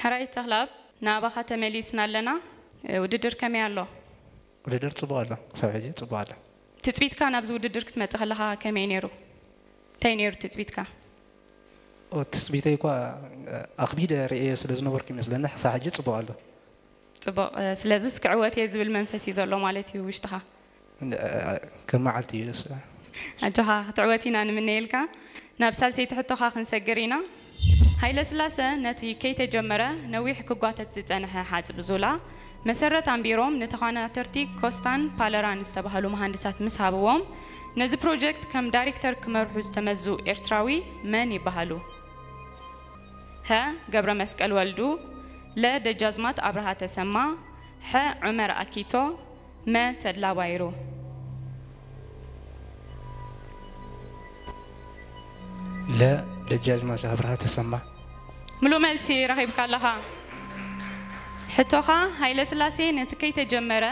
ሕራይ ተኽላብ፣ ናባኻ ተመሊስና ኣለና። ውድድር ከመይ ኣሎ? ውድድር ጽቡቕ ኣሎ፣ ክሳብ ሕጂ ጽቡቕ ኣሎ። ትጽቢትካ ናብዚ ውድድር ክትመጽእ ከለኻ ከመይ ነይሩ? እንታይ ነይሩ ትጽቢትካ? ኦ፣ ትጽቢተይ እኳ ኣኽቢደ ርእየ ስለ ዝነበርኩ ይመስለኒ፣ ክሳብ ሕጂ ጽቡቕ ኣሎ። ጽቡቕ፣ ስለዚስ ክዕወት እየ ዝብል መንፈስ እዩ ዘሎ ማለት እዩ ውሽጥኻ? ከም መዓልቲ እዩ። ኣጆኻ፣ ክትዕወት ኢና ንምነየልካ። ናብ ሳልሰይቲ ሕቶኻ ክንሰግር ኢና። ሃይለ ስላሰ ነቲ ከይተጀመረ ነዊሕ ክጓተት ዝጸንሐ ሓጽቢ ዙላ መሰረት ኣንቢሮም ንተዃናተርቲ ኮስታን ፓለራን ዝተባህሉ መሃንድሳት ምስ ሃብዎም፣ ነዚ ፕሮጀክት ከም ዳይሬክተር ክመርሑ ዝተመዙ ኤርትራዊ መን ይበሃሉ? ሀ፣ ገብረ መስቀል ወልዱ፣ ለ፣ ደጃዝማት ኣብርሃ ተሰማ፣ ሐ፣ ዑመር ኣኪቶ፣ መ፣ ተድላ ባይሩ። ለ፣ ደጃዝማት ኣብርሃ ተሰማ። ምሉእ መልሲ ረኺብካ ኣለኻ። ሕቶኻ፣ ሃይለ ስላሴ ነቲ ከይተጀመረ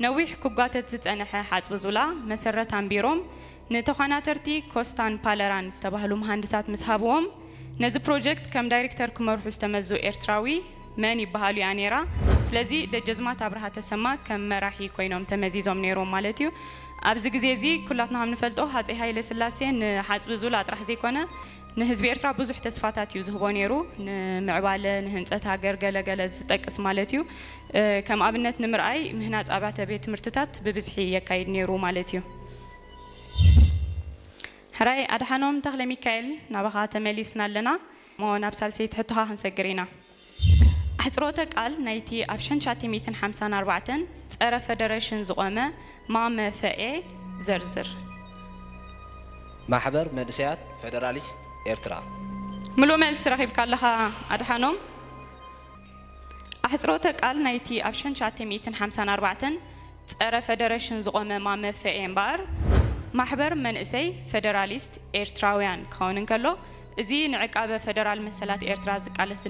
ነዊሕ ክጓተት ዝጸንሐ ሓጽቢ ዙላ መሰረት ኣንቢሮም ንተዃናተርቲ ኮስታን ፓለራን ዝተባህሉ መሃንድሳት ምስ ሃብዎም፣ ነዚ ፕሮጀክት ከም ዳይሬክተር ክመርሑ ዝተመዙ ኤርትራዊ መን ይበሃሉ እያ ነይራ። ስለዚ ደጀዝማት ኣብርሃ ተሰማ ከም መራሒ ኮይኖም ተመዚዞም ነይሮም ማለት እዩ። ኣብዚ ግዜ እዚ ኩላትና ከም ንፈልጦ ሃጸይ ሃይለ ስላሴ ንሓጽቢ ዙላ ጥራሕ ዘይኮነ ንህዝቢ ኤርትራ ብዙሕ ተስፋታት እዩ ዝህቦ ነይሩ። ንምዕባለ፣ ንህንጸት ሃገር ገለ ገለ ዝጠቅስ ማለት እዩ። እ፣ ከም ኣብነት ንምርኣይ ምህናጽ ኣብያተ ቤት ትምህርትታት ብብዝሒ የካይድ ነይሩ ማለት እዩ። ሕራይ ኣድሓኖም ተኽለ ሚካኤል፣ ናባኻ ተመሊስና ኣለና። እሞ ናብ ሳልሰይቲ ሕቶኻ ክንሰግር ኢና። ኣሕጽሮተ ቃል ናይቲ ኣብ ሸንሻቲ ሚእትን ሓምሳን ኣርባዕተን ጸረ ፈደረሽን ዝቖመ ማመፈኤ ዘርዝር። ማሕበር መንእሰያት ፈደራሊስት ኤርትራ። ምሉእ መልሲ ረኺብካ ኣለኻ ኣድሓኖም። ኣሕጽሮተ ቃል ናይቲ ኣብ ሸንሻቲ ሚእትን ሓምሳን ኣርባዕተን ጸረ ፈደረሽን ዝቖመ ማመፈኤ እምበኣር ማሕበር መንእሰይ ፈደራሊስት ኤርትራውያን ክኸውን እንከሎ፣ እዚ ንዕቃበ ፈደራል መሰላት ኤርትራ ዝቃለስ